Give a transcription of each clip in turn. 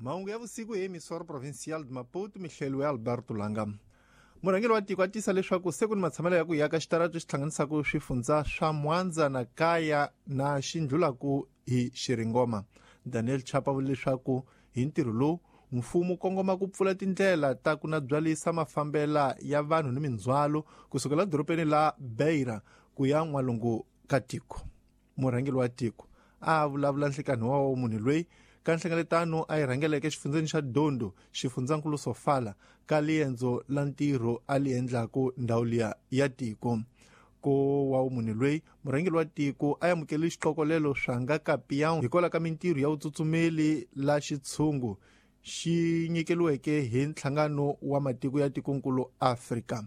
Mahungu ya vusiku hi Emissora Provincial de Maputo, mihlelo ya Alberto Langa. Murhangeri wa tiko a tisa leswaku se ku ni matshamelo ya ku yaka xitarato xi hlanganisaka swifundza swa Mwanza na Kaya na xindlulaku hi Xiringoma. Daniel Chapa vule leswaku hi ntirho lowu mfumo kongoma ku pfula tindlela ta ku na byalisa mafambela ya vanhu ni mindzhwalo kusukela dorobeni la Beira ku ya n'walungu ka tiko. Murhangeri wa tiko a vulavula nhlikani wa munhu loyi ka nhlengeletano a yi rhangeleke xifundzeni xa Dondo, xifundzankulu Sofala, ka liendzo la ntirho a li endlaku ndhawu liya ya tiko. Ko wa munhu loyi murhangeri wa tiko a amukele xiqokolelo swa nga kapiyan hikwalaho ka mintirho ya vutsutsumeli la xitshungu xi nyikeliweke hi nhlangano wa matiko ya tikonkulu Afrika.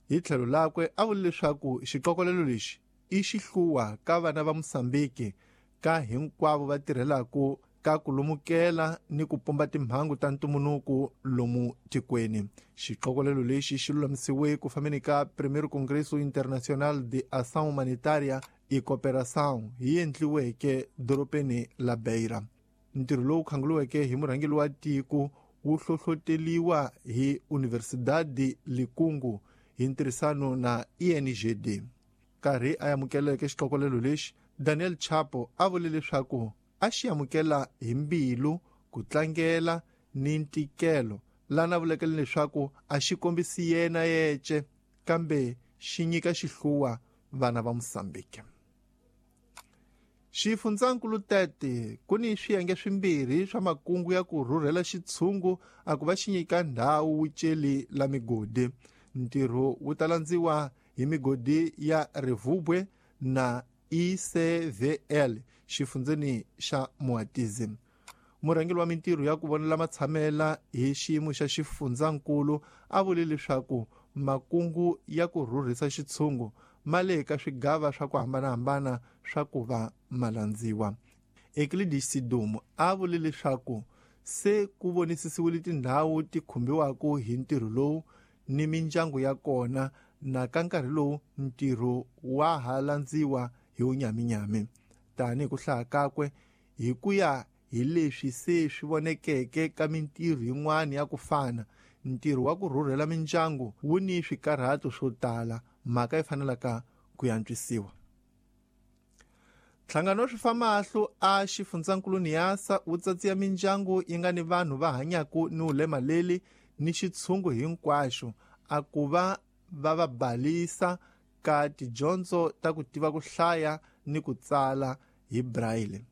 Hi tlhelo lakwe a vule leswaku xiqokolelo lexi i xihluwa ka vana va Mosambiki ka hinkwavo va tirhelaku ka ku lumukela ni ku pumba timhangu ta ntumbuluko lomu tikweni. Xiqokolelo lexi xi lulamisiwe ku fambeni ka Primeiro Congresso Internacional de Ação Humanitária e Cooperação hi endliweke dorobeni la Beira. Ntirho lowu khanguliweke hi murhangeri wa tiko wu hlohloteliwa hi Universidade Likungu hi ntirhisano na INGD. Karhi a amukeleke xiqokolelo lexi, Daniel Chapo a vule leswaku a xi amukela hi mbilu ku tlangela ni ntikelo lana vulekele leswaku a xi kombisi yena yece kambe xi nyika xihluwa vana va Mosambiki. Xifundzankulu Tete ku ni swiyenge swimbirhi swa makungu ya ku rhurhela xitshungu a ku va xi nyika ndhawu wuceli la migodi. Ntirho wu ta landziwa hi migodi ya Rivubwe na ICVL xifundzeni xa Moatize. Murhangeri wa mintirho ya ku vonela matshamela hi xiyimo xa xifundzankulu a vule leswaku makungu ya ku rhurhisa xitshungu ma le ka swigava swa ku hambanahambana swa ku va malandziwa. Euclides Sidumo a vule leswaku se ku vonisisiwile tindhawu ti khumbiwaka hi ntirho lowu ni mindyangu ya kona na ka nkarhi lowu ntirho wa ha landziwa hi wunyaminyami. Tanihi ku hlaya kakwe hi ku ya hi leswi se swi vonekeke ka mintirho yin'wana ya ku fana, ntirho wa ku rhurhela mindyangu wu ni swikarhato swo tala, mhaka yi fanelaka ku antswisiwa. Nhlangano wa swifamahlo a xifundzankulu Niassa wu tsatsiya mindyangu yi nga ni vanhu va hanyaku ni vulemaleli ni xitshungu hinkwaxo a ku va va va balisa ka tidyondzo ta ku tiva ku hlaya ni ku tsala hi braille.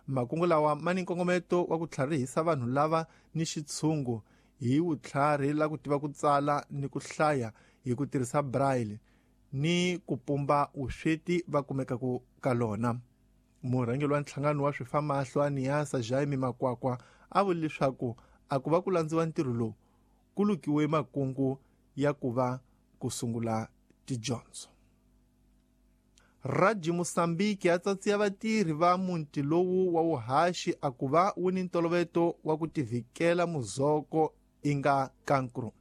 Makungu lawa ma ni nkongometo wa ku tlharihisa vanhu lava ni xitshungu hi vutlhari la ku tiva ku tsala ni ku hlaya hi ku tirhisa braille ni ku pumba vusweti va kumekaku ka lona. Murhangeri wa nhlangano wa swifamahlo a Niassa Jaime Makwakwa a vule leswaku a ku va ku landziwa ntirho lowu ku lukiwe makungu ya ku va ku sungula tidyondzo. Raji Mosambiki a tsatsiya vatirhi va muti lowu wa wuhaxi a ku va wu ni ntoloveto wa ku tivhikela muzoko inga kankru.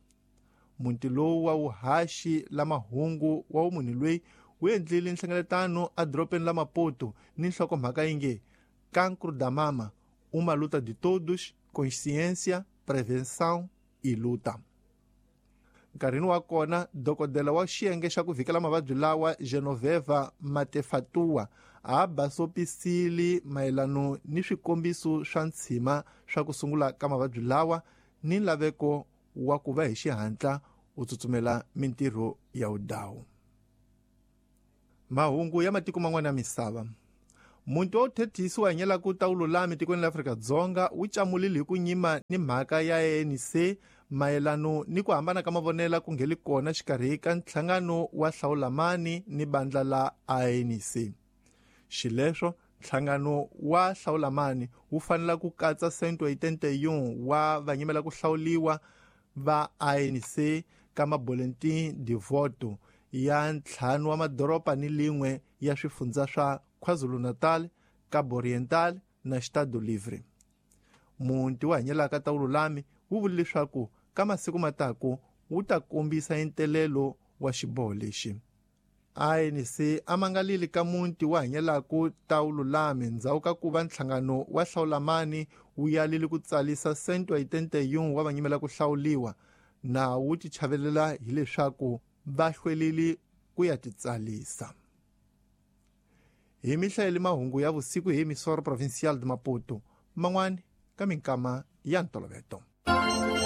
Muti lowu wa wuhaxi la mahungu wa munhu loyi wu endlile nhlengeletano edorobeni la Maputo ni nhlokomhaka yi nge Cancro da Mama, uma luta de todos, consciência, prevenção e luta. Nkarhini wa kona dokodela wa xiyenge xa ku vhikela mavabyi lawa Genoveva Matefatua a basopisile mayelano ni swikombiso swa ntshima swa ku sungula ka mavabyi lawa ni laveko wa ku va hi xihatla u tsutsumela mintirho ya wudawu. Mahungu ya matiko man'wana ya misava. Muti wa vuthethisi wa hanyelaka ta vululami tikweni la Afrika-Dzonga wu camulile hi ku nyima ni mhaka ya ANC mayelano ni ku hambana ka mavonela ku ngheli kona xikarhi ka nhlangano wa Hlawulamani ni bandla la ANC. Xileswo nhlangano wa Hlawulamani wu fanela ku katsa 181 wa vanyimela ku hlawuliwa va ANC ka maboletin de voto ya ntlhanu wa madoroba ni lin'we ya swifundza swa KwaZulu-Natal, Cabo Oriental na Estado Livre. Muti wa hanyelaka ta vululami wu vule leswaku ka masiku mataku wu ta kombisa entelelo wa xiboho lexi. ANC a mangalile ka muti wa hanyelaku ta vululami ndzhaku ka ku va nhlangano wa hlawulamani wu yalile ku tsalisa 181 wa vanyimela ku hlawuliwa na wu tichavelela hileswaku va hlwelile ku ya titsalisa. Hi mihlayeli mahungu ya vusiku hi Emissora Provincial de Maputo, man'wani ka minkama ya ntoloveto.